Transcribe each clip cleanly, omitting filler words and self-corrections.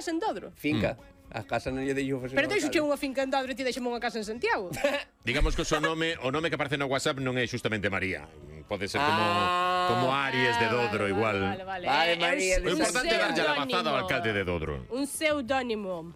casa en Dodro. Finca. A casa non lle deixo facer. Pero deixo unha finca en Dodro e ti deixame unha casa en Santiago. Digamos que o nome que aparece no WhatsApp non é xustamente María. Pode ser como Aries de Dodro, igual. Vale, María de O importante é darlle a lavazada ao alcalde de Dodro. Un pseudónimo.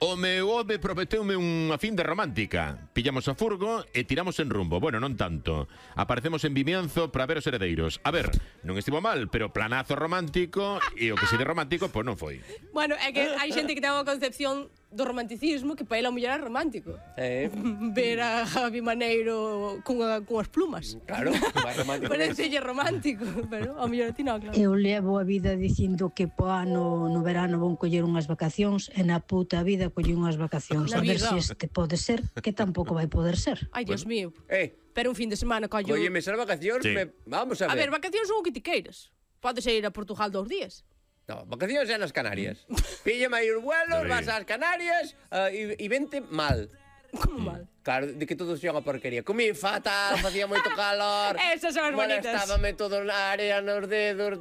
O meu home prometeume unha fin de romántica. Pillamos a furgo e tiramos en rumbo. Bueno, non tanto. Aparecemos en Vimianzo para ver os heredeiros. A ver, non estivo mal, pero planazo romántico e o que se de romántico, pois non foi. Bueno, é que hai xente que ten unha concepción do romanticismo que para ela o mellor é romántico. Ver a Javi Maneiro cunhas plumas. Claro, máis romántico. Parecelle romántico, pero ao mellor a ti non, claro. Eu levo a vida dicindo que po ano no verano vou coller unhas vacacións e na puta vida collí unhas vacacións. A ver se este pode ser, que tampouco vai poder ser. Ai, Dios mío. Pero un fin de semana collo... Oye, esas vacacións, vamos a ver. A ver, vacacións son o que ti queiras. Podes ir a Portugal 2 días. No, vacacións é nas Canarias. Píllame aí os vuelos, vas ás Canarias e vente mal. Como mal? Claro, de que todo sea unha porquería. Comí fatal, facía moito calor. Esas son as bonitas. Molestábame todo na área, nos dedos,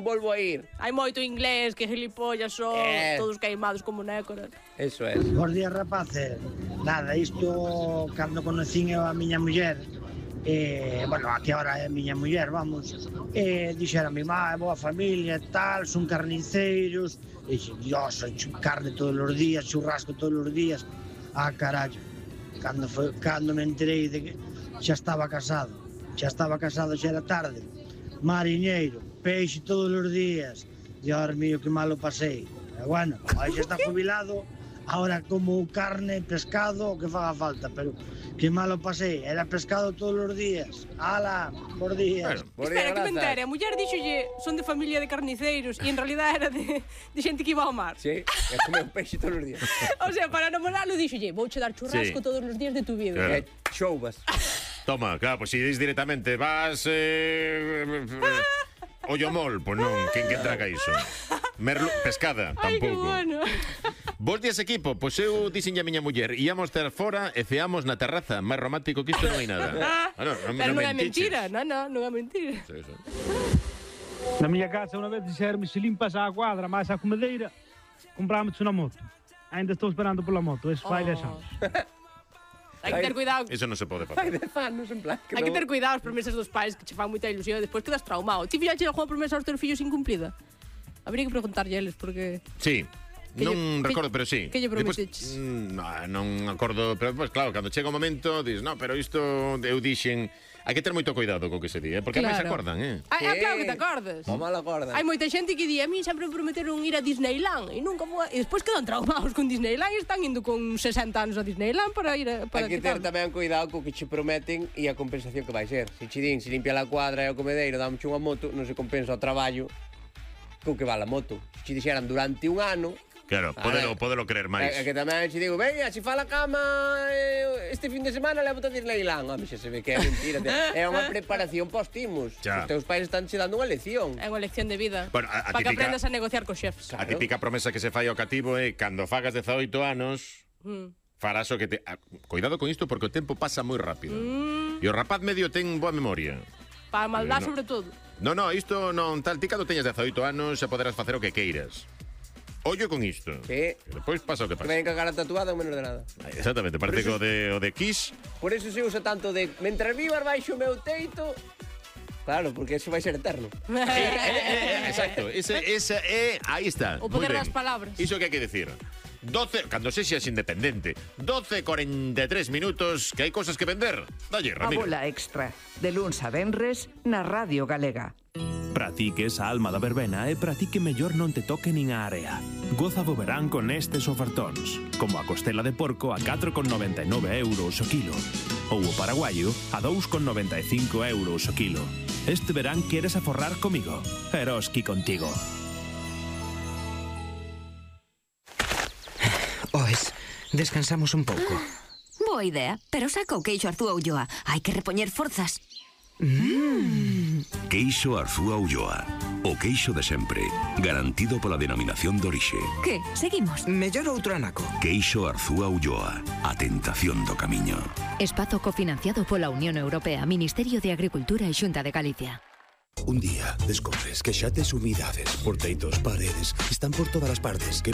volvo a ir. Hai moito inglés, que gilipollas son, todos queimados como nécoras. Eso é. Bos días, rapaces. Nada, isto, cando conocín eu a miña muller, bueno, aquí ahora é a miña muller, vamos, dixera a mi má, é boa familia e tal, son carniceiros, e dixen, Dios, soy carne todos os días, churrasco todos os días. Carallo, cando me enterei de que xa estaba casado, xa era tarde, mariñeiro, peixe todos os días, Dios mío, que malo pasei. Bueno, aí xa está jubilado, ahora como carne, pescado, o que faga falta, pero que malo pasei, era pescado todos os días. Ala, por días. Espera, que me entere, a muller dixolle son de familia de carniceiros e en realidad era de xente que iba ao mar. Sí, é comer peixe todos os días. O sea, para namorarlo dixolle, vouche dar churrasco todos os días de tu vida. Chouvas. Toma, claro, pois si dis directamente, vas... Ollomol, pois non, quen que traga iso? Pescada, tampouco. Ai, que bueno. Bos días, equipo, pois eu dixenlle a miña muller, íamos ter fora e ceamos na terraza, máis romántico que isto non hai nada. Pero non é mentira, non é mentira. Na miña casa unha vez dixerme, se limpas a cuadra máis a comedeira, compramos unha moto. Ainda estou esperando pola moto, eso fai 10 anos. Hai que ter cuidado. Eso non se pode facer. Hai que ter cuidado as promesas dos pais que che fan moita ilusión e despois quedas traumado. Ti fixache algunha promesa aos teus fillos incumplida? Habría que preguntarlle a eles porque... Sí. Non recordo, pero sí. Que lle prometeches? Non acordo, pero pues, claro, cando chega o momento, dis, no, pero isto eu dixen... Hai que ter moito cuidado co que se di, porque claro. A máis se acordan, claro que te acordas. O mal acordan. Hai moita xente que di, a mí sempre me prometeron ir a Disneyland e nunca vou... E despois quedan traumados con Disneyland e están indo con 60 anos a Disneyland para ir a... Hai que ter tamén cuidado co que che prometen e a compensación que vai ser. Se che din, se limpia a cuadra e o comedeiro, dámoche unha moto, non se compensa o traballo co que vale a moto. Se che dixeran durante un ano... Claro, podelo creer máis. É que tamén se digo, veña, se fa a cama este fin de semana levo-te a Disneyland. Home, xa se ve que é mentira. É unha preparación post-imus. Os teus pais están che dando unha lección. É unha lección de vida. Bueno, para que aprendas a negociar cos xefs. A típica promesa que se fai ao cativo é cando fagas 18 anos farás o que te... Cuidado con isto porque o tempo pasa moi rápido. E o rapaz medio ten boa memoria. Para a maldad, sobre todo. No, isto non tal. Ti cando teñas 18 anos xa poderás facer o que queiras. Ollo con isto. Sí. Despois pasa o que pasa. Que ven cagar a tatuada ou menos de nada. Exactamente, parece que o de Kiss. Por eso se usa tanto de mentras vivas baixo o meu teito. Claro, porque eso vai ser eterno. Exacto, esa é, aí está. O poder das palabras. Iso que hai que decir. 12, cando sexas independente, 12:43 minutos, que hai cosas que vender. Dalle, Ramiro. A bola extra, de luns a venres, na Radio Galega. Pratique esa alma da verbena e pratique mellor non te toque nin a area. Goza do verán con estes ofertóns, como a costela de porco a 4,99 euros o kilo, ou o paraguaio a 2,95 euros o kilo. Este verán queres aforrar comigo? Eroski contigo. Oes, descansamos un pouco. Boa idea, pero saca o queixo Arzúa Ulloa. Hai que repoñer forzas. Queixo Arzúa Ulloa. O queixo de sempre, garantido pola denominación de orixe. Que? Seguimos? Mellor outro anaco. Queixo Arzúa Ulloa. A tentación do camiño. Espazo cofinanciado pola Unión Europea, Ministerio de Agricultura e Xunta de Galicia. Un día descobres que xa tes humidades por teitos, paredes, están por todas as partes. Que